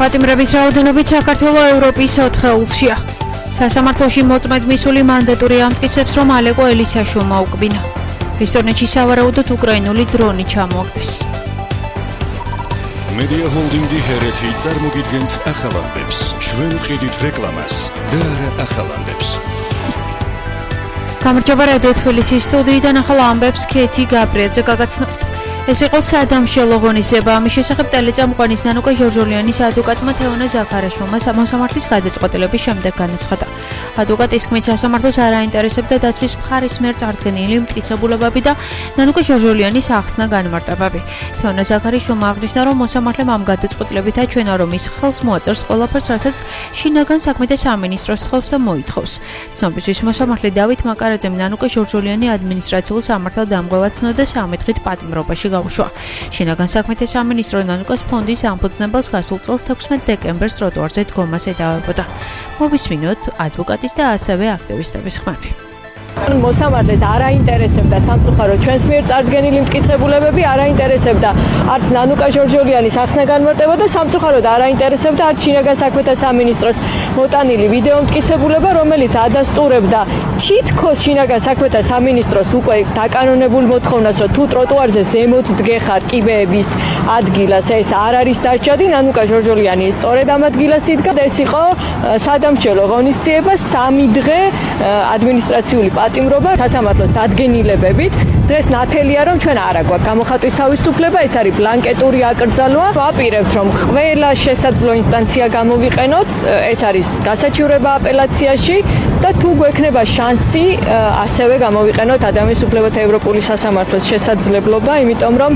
პატიმრების რაოდენობით საქართველოს ევროპის 4-ეულშია. სასამართლოში მოწმედ მისული მანდატური ამტკიცებს, რომ ალეკო ელისაშვილმა უკბინა. ესტონეთში სავარაუდოდ უკრაინული დრონი ჩამოაგდეს. Media Holding-ი ჰერეთი წარმოგიდგენთ ახალ ამბებს. ჩვენ ვყიდით რეკლამას და არა ახალ ამბებს. გამარჯობა რადიო თბილისის სტუდიიდან ახალ ამბებს ქეთი გაბრიაძე გაგაცნო. ეს იყო სადამშელო ღონისება. ამის შესახებ ტელეწამყვანის ნანუკა ჟორჟოლიანის ადვოკატმა თეონა ზაქარაშვილმა მოსამართლის გადაწყვეტილების შემდეგ განაცხადა. ადვოკატის თქმით, სასამართლოს არ აინტერესებდა დაცვის მხარის მიერ წარდგენილი მტკიცებულებები და ნანუკა ჟორჟოლიანის ახსნა განმარტებები. თეონა ზაქარაშვილმა აღნიშნა, რომ მოსამართლემ ამ გადაწყვეტილებით აჩვენა, რომ ის ხელს მოაწერს ყველაფერს, რასაც შინაგან საქმეთა სამინისტროს თხოვს და მოითხოვს. ცნობისთვის მოსამართლე დავით მაკარაძემ ნანუკა ჟორჟოლიანი ადმინისტრაციულ სამართალ დამღვევად ცნოდა 13 დღით პატიმრობაში გაუშვა. შინაგან საქმეთა სამინისტრო ნანუკას ფონდის ამფუძნებელს გასულ წელს 16 დეკემბერს ტროტუარზე დგომას ედავებოდა. მოვისმინოთ ადვოკატის და ასევე აქტივისტების ხმები. მოსამართლეს არ აინტერესებდა სამწუხარო ჩვენს მიერ წარდგენილი მტკიცებულებები, არ აინტერესებდა არც ნანუკა ჟორჟოლიანის ახსნა განმარტება და სამწუხაროდ არ აინტერესებდა არც შინაგან საქმეთა სამინისტროს მოტანილი ვიდეო მტკიცებულება, რომელიც ადასტურებდა თითქოს შინაგან საქმეთა სამინისტროს უკვე დაკანონებულ მოთხოვნას, რომ თუ ტროტუარზე ზემოთ დგეხარ კიბეების ადგილას, ეს არ არის დარჩადი. ნანუკა ჟორჟოლიანი სწორედ ამ ადგილას იდგა და ეს იყო სადამშელო ღონისძიება 3 დღე ადმინისტრაციული პატიმრობა სასამართლოს დადგენილებებით. დღეს ნათელია, რომ ჩვენ არა გვაქვს გამოხატვის თავისუფლება, ეს არის ბლანკეტური აკრძალვა. ვაპირებთ, რომ ყველა შესაძლო ინსტანცია გამოვიყენოთ, ეს არის გასაჩივრება აპელაციაში და თუ გვექნება შანსი, ასევე გამოვიყენოთ ადამიანის უფლებათა ევროპული სასამართლოს შესაძლებლობა, იმიტომ რომ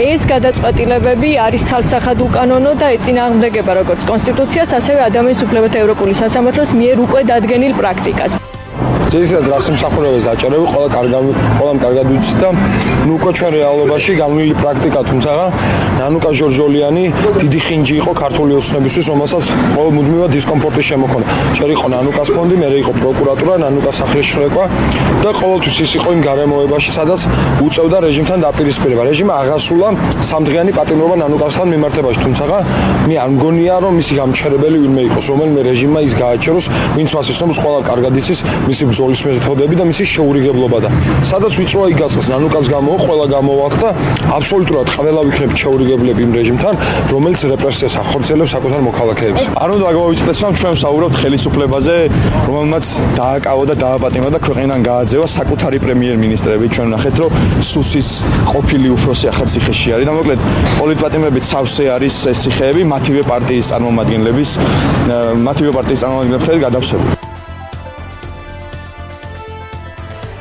ეს გადაწყვეტილებები არის ცალსახად უკანონო და ეწინააღმდეგება როგორც კონსტიტუციას, ასევე ადამიანის უფლებათა ევროპული სასამართლოს მიერ უკვე დადგენილ პრაქტიკას. ძირითადად რას მსახურებას აჭარები, ყველამ კარგად ვიცით და ნუ უკვე ჩვენ რეალობაში განვლილი პრაქტიკა, თუმცა ნანუკა ჟორჟოლიანი დიდი ხინჯი იყო ქართული ოცნებისთვის, რომელსაც მუდმივად დისკომფორტი შემოქონა. ჯერ იყო ნანუკას ფონდი, მერე იყო პროკურატურა, ნანუკას სახლის შხრეკვა და ყოველთვის ის იყო იმ გარემოებაში, სადაც უწევდა რეჟიმთან დაპირისპირება. რეჟიმმა აღასრულა 3 დღიანი პატიმრობა ნანუკასთან მიმართებაში, თუმცა მე არ მგონია, რომ მისი გამჩერებელი ვინმე იყოს, რომელიმე რეჟიმმა ის გააჩეროს, ვინც მას ისწრებს, ყველა კარგად იცის მისი ბრძოლის მეთოდები და მისი შეურიგებლობა და სადაც ვიწროა იგაწყოს ნანუკას გამოვა, ყველა გამოვახ და აბსოლუტურად ყველა ვიქნებით შეურიგებლები იმ რეჟიმთან, რომელიც რეპრესიას ახორციელებს საკუთარ მოქალაქეებს. არ უნდა გაგვაუწყდეს, რომ ჩვენ ვსაუბრობთ ხელისუფლებაზე, რომელმაც დააკავა და დააპატიმრა და ქვეყნიდან გააძევა საკუთარი პრემიერ-მინისტრები. ჩვენ ვნახეთ, რომ სუსის ყოფილი უფროსი ახალ ციხეში არის და მოკლედ პოლიტპატიმრებით სავსე არის ეს ციხეები მათივე პარტიის წარმომადგენლებთან გადავსებული.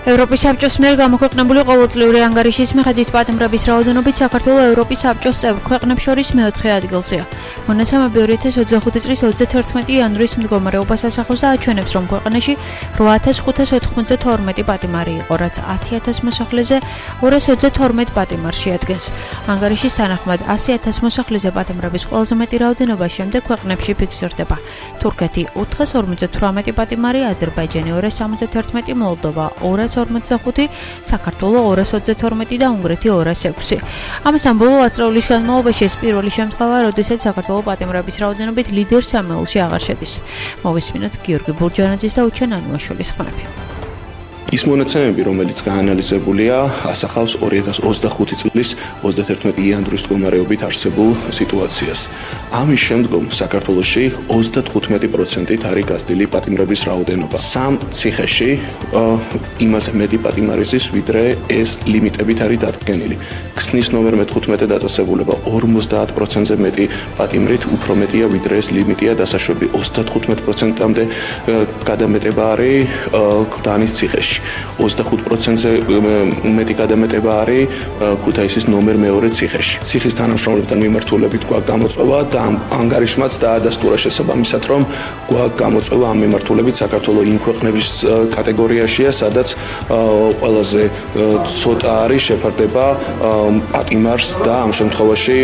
ევროპის საბჭოს მიერ გამოქვეყნებული ყოველწლიური ანგარიშის მიხედვით პატიმრების რაოდენობით საქართველოს ევროპის საბჭოს წევრ ქვეყნებს შორის მე-4 ადგილზეა. მონაცემები 2025 წლის 31 იანვრის მდგომარეობას ასახავს და აჩვენებს, რომ ქვეყანაში 8592 პატიმარი იყო, რაც 10000 მოსახლეზე 222 პატიმარს შეადგენს. ანგარიშის თანახმად 100000 მოსახლეზე პატიმრების ყველაზე მეტი რაოდენობა შემდეგ ქვეყნებში ფიქსირდება: თურქეთი 458 პატიმარი, აზერბაიჯანი 271, მოლდოვა 245, საქართველოს 222 და უნგრეთი 206. ამასთან ბოლო ათწლეულის განმავლობაში ეს პირველი შემთხვევაა, როდესაც საქართველოს პატიმრების რაოდენობით ლიდერ 3-ში აღარ შედის. მოვისმინოთ გიორგი ბურჯანაძის და უჩენ ანუაშვილის ხმები. ის მონაცემები, რომელიც გაანალიზებულია, ასახავს 2025 წლის 31 იანვრის მდგომარეობით არსებულ სიტუაციას. ამის შემდგომ საქართველოში 35%-ით არის გაზრდილი პატიმრების რაოდენობა. 3 ციხეში იმას მეტი პატიმარი ზის, ვიდრე ეს ლიმიტებით არის დადგენილი. ქსნის ნომერ 15 დაწესებულება 50%-ზე მეტი პატიმრით უფრო მეტია, ვიდრე ეს ლიმიტია დასაშვები. 35%-მდე გადამეტება არის გდანის ციხეში. 25%-ზე მეტი გადამეტება არის ქუთაისის ნომერ 2 ციხეში. ციხის თანამშრომლებთან მიმართულებით გვაქვს გამოწვევა და ანგარიშმაც დაადასტურა შესაბამისად, რომ გვაქვს გამოწვევა ამ მიმართულებით საქართველოს იმ ქვეყნების კატეგორიაშია, სადაც ყველაზე ცოტა არის შეფარდება პატიმარს და ამ შემთხვევაში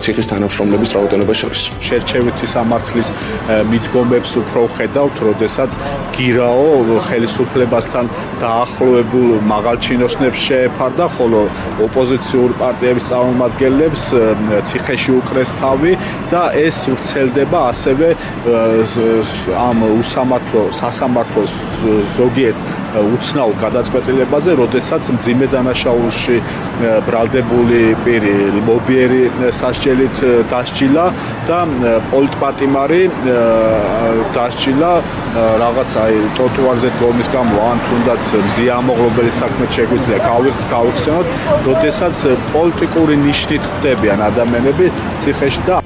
ციხის თანამშრომლების რაოდენობა შორის. შერჩევითი სამართლის მიდგომებს უფრო ხედავთ, როდესაც გირაო ხელისუფლებასთან დაახლოებულ მაღალ ჩინოსნებს შეეფარდა, ხოლო ოპოზიციურ პარტიების წარმომადგენლებს ციხეში უკრეს თავი და ეს ვრცელდება ასევე ამ სასამართლოს ზოგიერთ უცნაურ გადაწყვეტილებაზე, როდესაც მძიმე დანაშაულში ბრალდებული პირი ლობიერი სასჯელით დასჯილა და პოლიტპატიმარი დასჯილა რაღაც ტროტუარზე დგომის გამო, ან თუნდაც მზიამოღლობელი საქმე შეგვიძლია გავიხსენოთ, როდესაც პოლიტიკური ნიშნით ხდებიან ადამიანები ციხეში და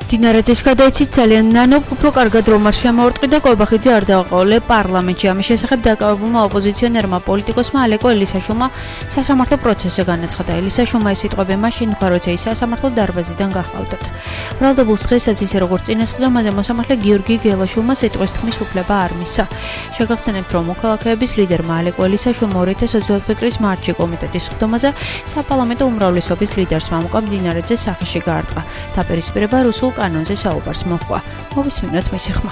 დინარაძის გადაიცით ძალიან ნანო უფრო კარგად რომ არ შემოარტყიდა კობახიძე არ დააყოლე პარლამენტში. ამის შესახებ დაკავებულმა ოპოზიციონერმა პოლიტიკოსმა ალეკო ელისაშვილმა სასამართლო პროცესზე განაცხადა. ელისაშვილმა ეს სიტყვები მაშინ თქვა, როცა ის სასამართლო დარბაზიდან გახავდათ. ბრალდებულს დღესაც ისე როგორც წინას ხვდა, მასზე მოსამართლე გიორგი გელაშვილმა სიტყვის თქმის უფლება არ მისცა. შეგახსენებთ, რომ მოქალაქეების ლიდერმა ალეკო ელისაშვილმა 2024 წლის მარტში კომიტეტის ხდომაზე საპარლამენტო უმრავლესობის ლიდერს მამუკა დინარაძეს სახეში გაარტყა. დაპირისპირება რუსულ კანონზე საუბარს მოჰყვა. მოვისმინოთ მისი ხმა.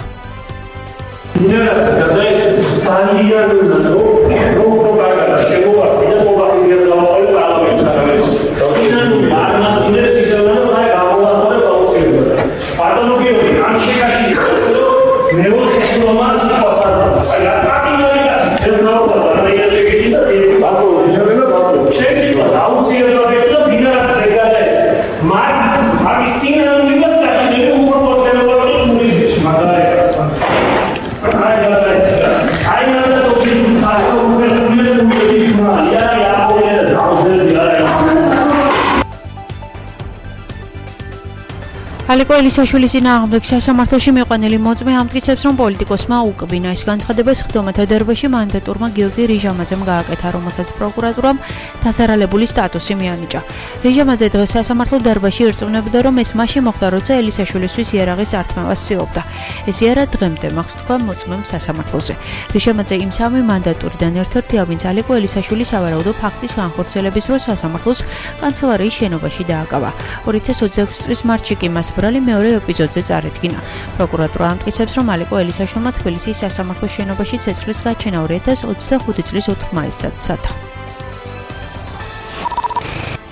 ალეკო ელისაშვილის წინააღმდეგ სასამართლოში მიყვანილი მოწმე ამტკიცებს, რომ პოლიტიკოსმა უკბინა ეს განცხადებას ხდომათა დარბაზში მანდატურმა გიორგი რიჟამაძემ გააკეთა, რომელსაც პროკურატურამ დასარალებული სტატუსი მიანიჭა. რიჟამაძე დღეს სასამართლო დარბაზში ირწმუნებდა, რომ ეს მაშინ მოხდა, როცა ელისაშვილისთვის იარაღის ართმევას ცდილობდა. ეს იარა დღემდე მაქვს თქვა მოწმემ სასამართლოზე. რიჟამაძე იმ სამი მანდატურიდან ერთ-ერთია, ვინც ალეკო ელისაშვილის სავარაუდო ფაქტის განხორციელების დროს სასამართლოს კანცელარიის შენობაში დააკავა. 2026 წლის მარტში კი მას ბრალი მეორე ეპიზოდზე წარედგინა. პროკურატურა ამტკიცებს, რომ ალეკო ელისაშვილმა თბილისის სასამართლოს შენობაში ცეცხლის გაჩენა 2025 წლის 4 მაისსაც სცადა.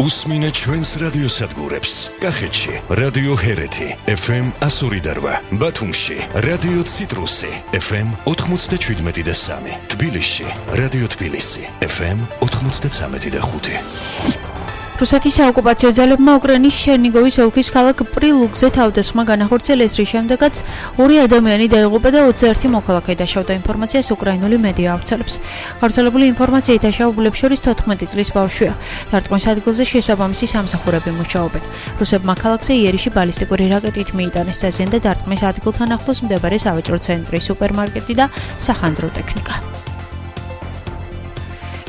უსმინეთ ჩვენს რადიოსადგურებს. კახეთში რადიო ჰერეთი FM 102.8, ბათუმში რადიო ციტრუსი FM 97.3, თბილისში რადიო თბილისი FM 93.5. რუსეთის საოკუპაციო ძალებმა უკრაინის ჩერნიგოვის ოლქის ქალაქ პრილუგზე თავდასხმა განახორციელეს, რის შემდეგაც 2 ადამიანი დაიღუპა და 21 მოქალაქე დაშავდა. ინფორმაციას უკრაინული მედია ავრცელებს. გავრცელებული ინფორმაციით დაშავებულებს შორის 14 წლის ბავშვია. დარტყმის ადგილზე შესაბამისი სამსახურები მუშაობენ. რუსებმა ქალაქზე იერიში ბალისტიკური რაკეტით მიიტანეს დაზიანდა და დარტყმის ადგილთან ახლოს მდებარე სავაჭრო ცენტრი, სუპერმარკეტი და სახანძრო ტექნიკა.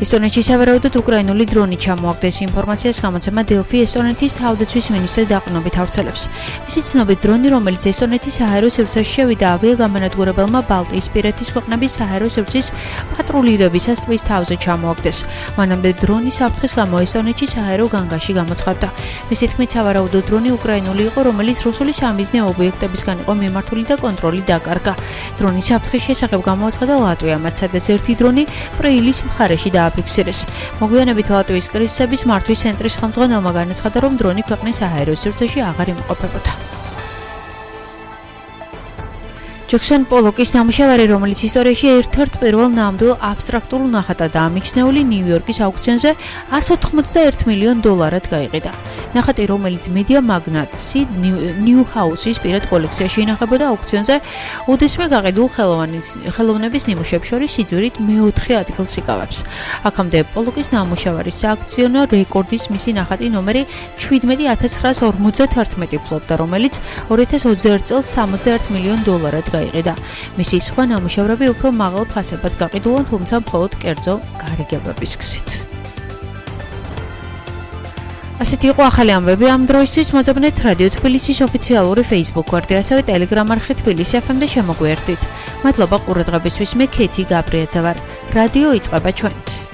ესტონეთში სავარაუდოდ უკრაინული დრონი ჩამოაგდეს. ინფორმაციას გამოცემა დელფი ესტონეთის თავდაცვის მინისტრს დაყრდნობით ავრცელებს. მისი ცნობით, დრონი, რომელიც ესტონეთის საჰაერო სივრცეში შევიდა, ავიაგამანადგურებელმა ბალტიისპირეთის ქვეყნების საჰაერო სივრცის პატრულირებისას ტბის თავზე ჩამოაგდეს. მანამდე დრონის საფრთხის გამო ესტონეთში საჰაერო განგაში გამოცხადდა. მისი თქმით, სავარაუდო დრონი უკრაინული იყო, რომელიც რუსული სამიზნე ობიექტებისგან იყო მიმართული და კონტროლი დაკარგა. დრონის საფრთხის შესახებ გამოაცხადა ლატვიამ, სადაც ერთი დრონი პრეილის მხარეში ფიქსირეს. მოგვიანებით ლატვიის კრიზისების მართვის ცენტრის ხელმძღვანელმა განაცხადა, რომ დრონი ქვეყნის საჰაერო სივრცეში აღარ იმყოფებოდა. ჯექსონ პოლოკის ნამუშევარი, რომელიც ისტორიაში ერთ-ერთ პირველ ნამდვილ აბსტრაქტულ ნახატადაა მიჩნეული, ნიუ-იორკის აუქციონზე $181 მილიონ გაიყიდა. ნახატი, რომელიც მედია მაგნატსი ნიუ-ჰაუსის პირად კოლექციაში ინახებოდა აუქციონზე, უდესმე გაყიდულ ხელოვნების ნიმუშებს შორის სიძვირით მეოთხე ადგილს იკავებს. აქამდე პოლოკის ნამუშევარის სააქციონო რეკორდის მისი ნახატი ნომერი 17,951 ფლობდა, რომელიც 2021 წელს $61 მილიონ გაიყიდა. მისი სხვა ნამუშევრები უფრო მაღალ ფასებად გაყიდულან, თუმცა მხოლოდ კერძო გარიგებების გზით. ასეთი იყო ახალი ამბები ამ დროისთვის. მოძებნეთ რადიო თბილისის ოფიციალური Facebook გვერდი, ასევე Telegram არხი თბილისი FM-და შემოგვიერთდით. მადლობა ყურადღებისთვის. მე ქეთი გაბრიაძე ვარ. რადიო იწყება ჩვენთ.